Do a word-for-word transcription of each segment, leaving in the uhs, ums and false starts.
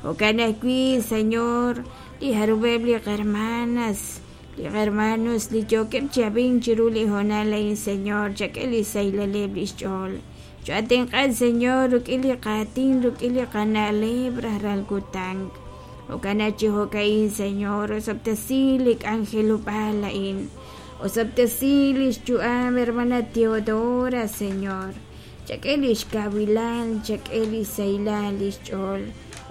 Jo'kan ajwi', Señor, li jarub'eb' li qarmanas, li qarmanos li yookeb' chi ab'ink chiru li hoonal a'in, Señor, chak'e li xsahilaleb' li xch'ool. Cho'atenq'a, Señor, rik'in li qaatin, rik'in li qana'leb' rajlal kutan. Jo'kan chi jo'ka'in, Señor, osob'tesi li k'anjelob'aal a'in. Osob'tesi li xyu'am hermana Teodora, Señor. Chak'e li xkawilal, chak'e li xsahilal li xch'ool.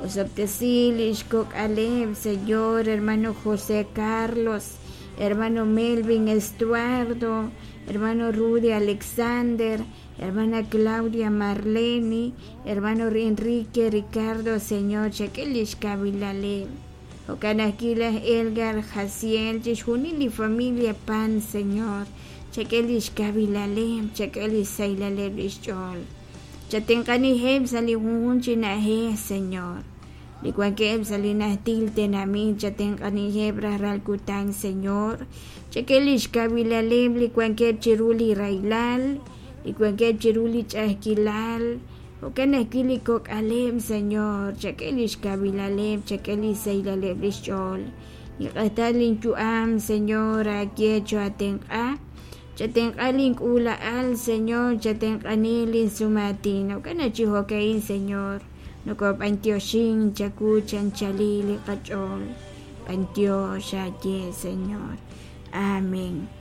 Osob'tesi li xkok'aleb', Señor, hermano José Carlos, hermano Melvin Estuardo, hermano Rudy Alexander, hermana Claudia Marleni, hermano Enrique Ricardo, Señor, chak'e li xkawilaleb'. Jo'kan ajwi' laj Elgar Jaciel, chixjunil li familia Pan, Señor, chak'e li xkawilaleb', chak'e li xsahilaleb' li xch'ool. Chatenq'aniheb' sa' li junjunq chi na'ajej, Señor. Li wankeb' sa' li najtil tenamit, chatenq'aniheb' rajlal kutan, Señor. Chak'e li xkawilaleb' li wankeb' chiru li rahilal, li wankeb' chiru li ch'a'ajkilal. Jo'kan ajwi' li kok'aleb', Señor, chak'e li xkawilaleb', chak'e li xsahilaleb' li xch'ool. Niq'atal linyu'am, Señor, aaye cho'atenq'a. Chatenq'a link'uula'al, Señor, chatenq'ani linsumaatin. Jo'kan chi jo'ka'in, Señor, nokob'antioxin chawu chanchali li qach'ool. B'antiox aaye, Señor. Amén.